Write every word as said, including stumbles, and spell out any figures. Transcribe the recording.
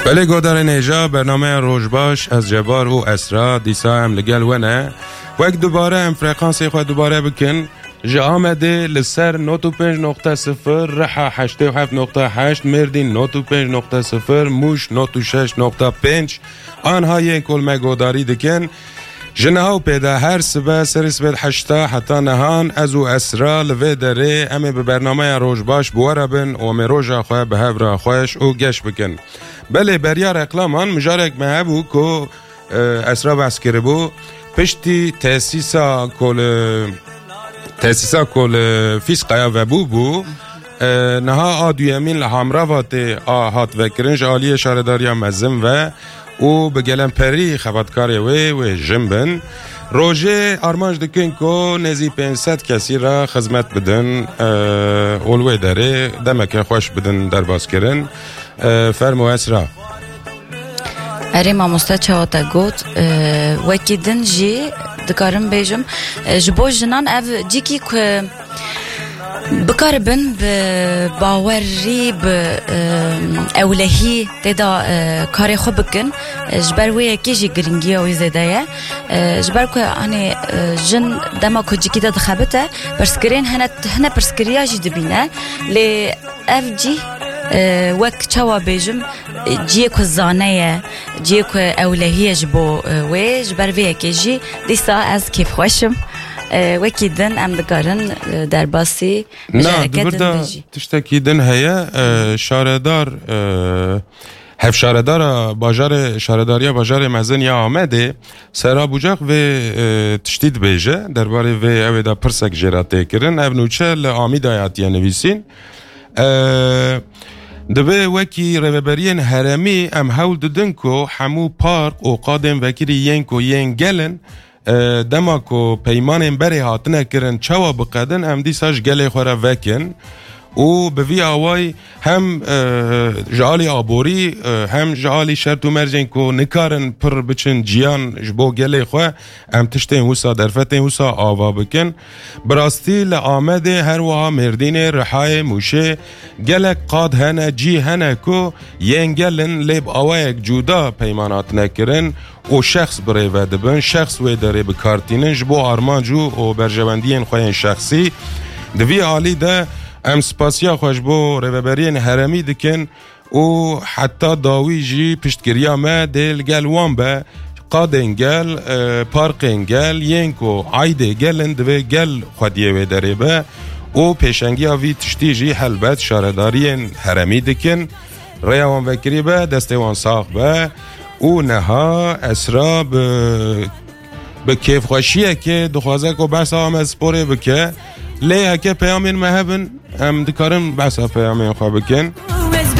Belê godarên hêja, bernameya Rojbaş, ez Cebar û Esra, dîsa em li gel we ne. Wek dubare em frekansê xwe dubare bikin. Ji Amedê li ser nod û pênc nokte sifir, Riha heştê û heft nokte heşt, Mêrdîn nod û pênc nokte sifir, Mûş nod û şeş nokte pênc, anha yên ku li me godarî dikin. Ji niha û pê de her sibe serê sibê heşta heta nihan ez û Esra li vê derê em ê bi bernameya Rojbaş bi we re bin û em ê roja xwe bi hev re xweş û geş bikin. Belê beriya reklaman mijarek me hebû ku, e, Esra behs kiribû. Piştî tesîsa ku li, tesîsa ku li Fîsqeya vebû bû, e, niha a duyemîn li Hamravatê a hat vekirin ji aliyê şaredariya mezin ve û bi gelemperî xebatkarê wê, wê jin bin. Rojê armanc dikin ku nêzî pênc sed kesî re xizmet bidin, e, û li wê derê demeke xweş bidin derbas kirin. E, fermo Esra. Erê mamoste, çawa te got, e, wekî din jî dikarim bêjim, e, ji bo jinan ev cîkî ku bikaribin bi bawerî, bi, e, ewlehî tê de, e, karê xwe bikin, e, ji ber wê yekê jî giringiya wî zêde ye. E, ji ber ku, hani, e, jin dema ku cîkî de dixebite, pirsgirên hene, hine pirsgiriya jî dibîne. Lê ev cî, e, wek çawa bêjim, e, ciyê ku zane ye, ciyê ku ewlehî ye ji bo, e, wê, ji ber vê yekê jî dîsa ez kêfxweş im. E, wekî din em dikarin, e, derbasî Na, mijareke di vir din de bêjî. Tiştekî din heye, e, şaredar, e, hevşaredara bajarê, şaredariya bajarê mezin ya Amedê, Sera Bucak vê, e, tiştî dibêje, derbarê vê ew ê de pirsek jê re tê kirin. Ev nûçe li Amîdayê hatiye nivîsîn. E, Divê wekî rêveberiyên herêmî em hewl didin ku hemû park û qadên vekirî yên ku yên gel in, e, dema ku peymanên berê hatine kirin çawa biqedin, em dîsa ji gelê xwe re vekin û bi vî awayî hem, e, ji alî aborî, e, hem ji alî şert û mercên ku nikarin pir biçin ciyan ji bo gelê xwe, em tiştên wisa, derfetên wisa ava bikin. Bi rastî li Amedê, her wiha Mêrdînê, Rihayê, Mûşê gelek qad hene, cî hene ku yên gel in, lê bi awayek cuda peyman hatine kirin û şexs bi rê ve dibin, şexs wê derê bi kar tînin ji bo armanc û, û berjewendiyên xwe yên şexsî. Di vî alî de em spasiya xwe ji bo rêveberiyên herêmî dikin û heta dawî jî piştgiriya me dê li gel wan be. Qadên gel, e, parkên gel, yên ku aydê gel in, divê gel xwediyê wê derê be û pêşengiya vî tiştî jî helbet şaredariyên herêmî dikin. Rêya wan vekirî be, destê wan sax be. Û niha Esra bi, bi kêfxweşiyekê dixwaze ku behsa Amedsporê bike. Lê heke peyamên me hebin, em dikarin behsa peyamên xwe bikin.